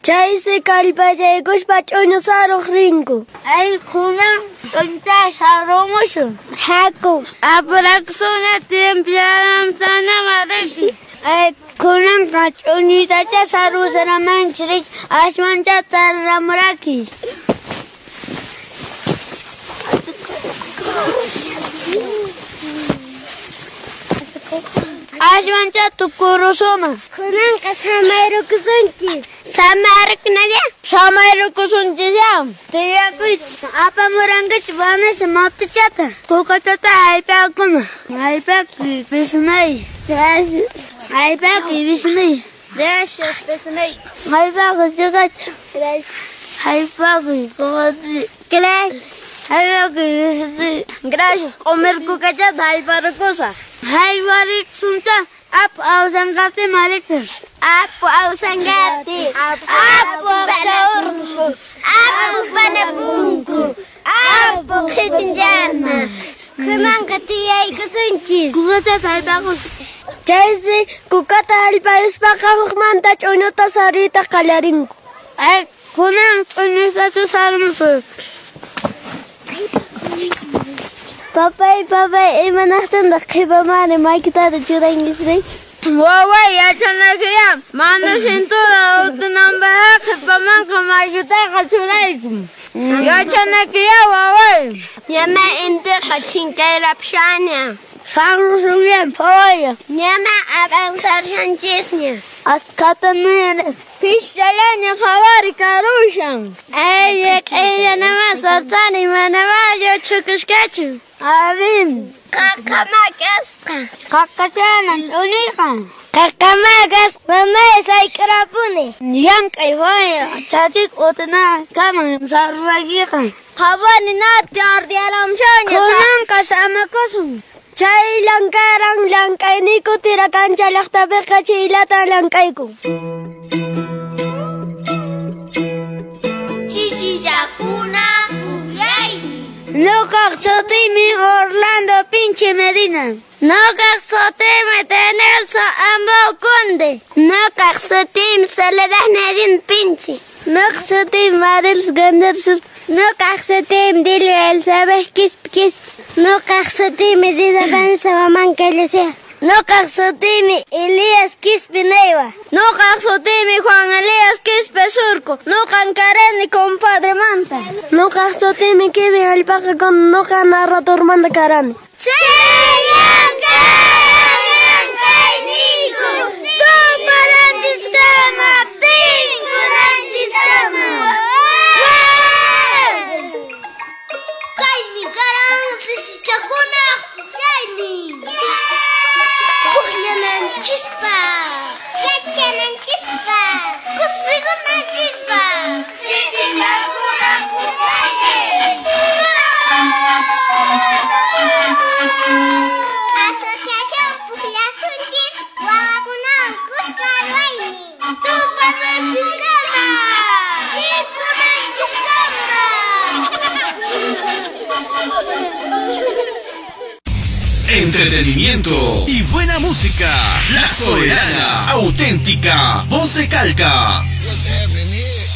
Chaysi kallpachaykuspa ch'uñu saruq rinku. Ay, kunan ch'uñuta sarumusun. Haku. Apurakusuna timpiaramsana mariki. Ay, kunanqa ch'uñutacha sarusaramanchik ashwancha tararamuraki. Ashwancha tukurusuma. Kunanqa samayrukusunchis. Samayrukunalla? Samayrukusunchis Tiyakuychis. Apamurankichis Vanessa motichata. Kukachata aypakuna. Aypakuy pisinay. Gracias. Aypakuy pisinay. Gracias, pisinay. Aypakuy chikacha. Gracias. Aypakuy kukati. Gracias. Aypakuy pisinay. Gracias. Comer kukachata ayparukusaq. Haywariksuncha apu awsanqati marikir. Apu awsanqati. Apu awsaurku. Apu panapunku. Apu qhichinchana. Kunanqa tiyaykusunchis. Kukata haypakus. Chaysi kukata hallpayuspaqa hukmanta ch'uñuta saruyta qallarinku. Ay, kunan ch'uñutata sarumusun. Papay, papay, imanaqtintaq qhipamari makitata churankisri? Waway, yachanakiyá, mana cintura utunanpaqqa qhipamanqa makitaqa churayku. Yachanakiyá, waway. Ñama intiqa chinkayrapushaña. Sarrusunña, phawaya. Ñama avanzarshanchisña. Askhata nira. Pishallaña qhawari karushan. Ay, q'illanama sartani manamá lluchhukushkachu. Abim. Qaqama kasqa. Qaqachana ch'uniqa. Qaqama kasqa mamay sayk'urapuni. Llank'ay waya chakik utuna kaman sarrakiqa. Qhawani nati ardiaramshaña. Kunanqa samakusun. Chay llankaran llank'ayniku tirakancha llaqtapiqa chiylata llank'ayku. Chichichakuna pukllaymi. Ñuqaq sutiymi Orlando Pinche Medina. Ñuqaq sutiymi Tenelso Ambao Conde. Ñuqaq sutiymi Soledad Medina Pinche. Ñuqaq sutiymi Marilis González. Ñuqaq sutiymi Delia Elizabeth Quispe Quispe. Ñuqaq sutiymi Dida Vanessa Huamán Callecea. Ñuqaq sutiymi Elías Quispe Neiva. Ñuqaq sutiymi Juan Elías Quispe Surco. Ñuqan karani compadre manta. Ñuqaq sutiymi Kevin Alpaca con ñuqa narrador manta karani. Llank'ayniyku tupananchiskama tinkunanchiskama. Kaymi karan sisichakunaq pukllaynin. Pukllananchispaq, yachananchispaq, kusikunanchispaq. Sisichakunaq pukllaynin. Asociación Pukllasunchis wawakunawan kuska ruwaynin. Tupananchiskama, tinkunanchiskama. Entretenimiento y buena música. La Soberana, auténtica, voz de Calca.